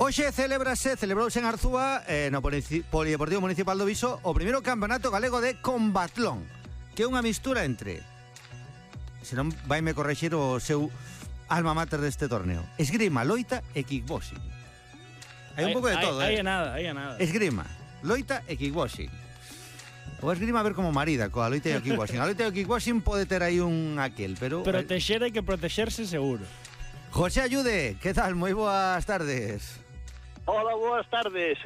Hoxe celebrouse en Arzúa, no Polideportivo Municipal do Viso, o primeiro campeonato galego de combatlón, que é unha mistura entre, senón vaime correxir o seu alma mater deste torneo, esgrima, loita e kickboxing. Hai un pouco de todo, Hai nada. Esgrima, loita e kickboxing. O esgrima a ver como marida coa loita e o kickboxing. A loita e o kickboxing pode ter aí un aquel, pero... Protexer hai que protexerse seguro. José Ayude, que tal? Moi boas tardes. Hola, boas tardes,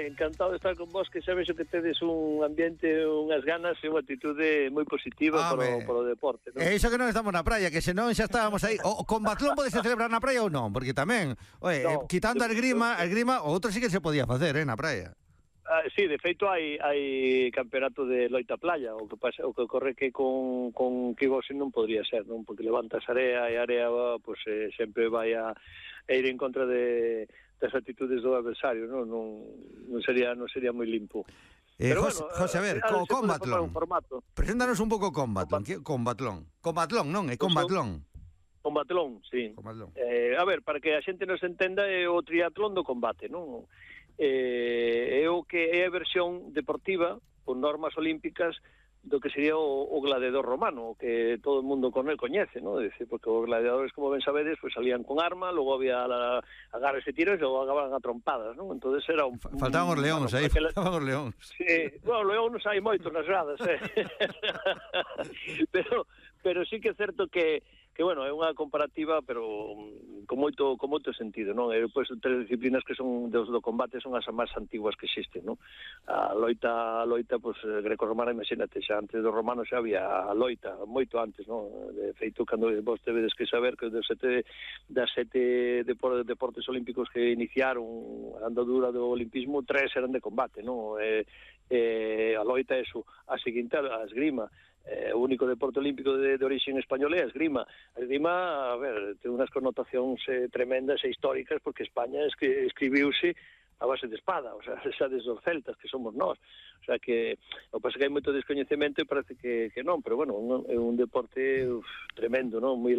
encantado de estar con vos, que sabes que tedes un ambiente, unhas ganas e unha actitude moi positiva para o deporte, non? É iso que non estamos na praia, que senón xa estábamos aí. O combatlón pode se celebrar na praia ou non? Porque tamén, quitando a esgrima, o outro sí que se podía facer, na praia. Sí, de feito hai campeonato de loita playa, o que ocorre que con kickboxing non podría ser, non? Porque levantas area e a area pues, sempre vai a ir en contra das actitudes do adversario, non sería moi limpo. Pero José, a ver, combatlón. Preséntanos un pouco combatlón. Combatlón, non? É combatlón. Combatlón, sí. A ver, para que a xente nos entenda, é o triatlón do combate, non? É o que é a versión deportiva, con normas olímpicas, do que sería o gladiador romano, que todo o mundo con el coñece, ¿no? Es decir, porque os gladiadores, como ben sabedes, pues salían con arma, logo había agarres e tiros e logo acababan a trompadas, ¿no? Entonces era un... Faltaban os leóns, aí faltaban os leóns. Sí, bueno, leóns hai moitos nas gradas, pero sí que é certo que bueno, é unha comparativa, pero con moito sentido, non? E depois tres disciplinas que son do combate son as máis antiguas que existen, non? A loita, pues, greco-romana, imagínate, xa antes dos romanos xa había a loita, moito antes, non? De feito, cando vos tevedes que saber que das sete deportes olímpicos que iniciaron a andadura do olimpismo, 3 eran de combate, non? A loita é a seguinte, a esgrima. O único deporte olímpico de origen español é a esgrima. A esgrima, a ver, ten unhas connotacións tremendas e históricas, porque España escribiuse a base de espada, o sea, xa desde os celtas, que somos nós. O sea, que o que pasa que hai moito descoñecemento e parece que non, pero bueno, é un deporte tremendo, non? Moi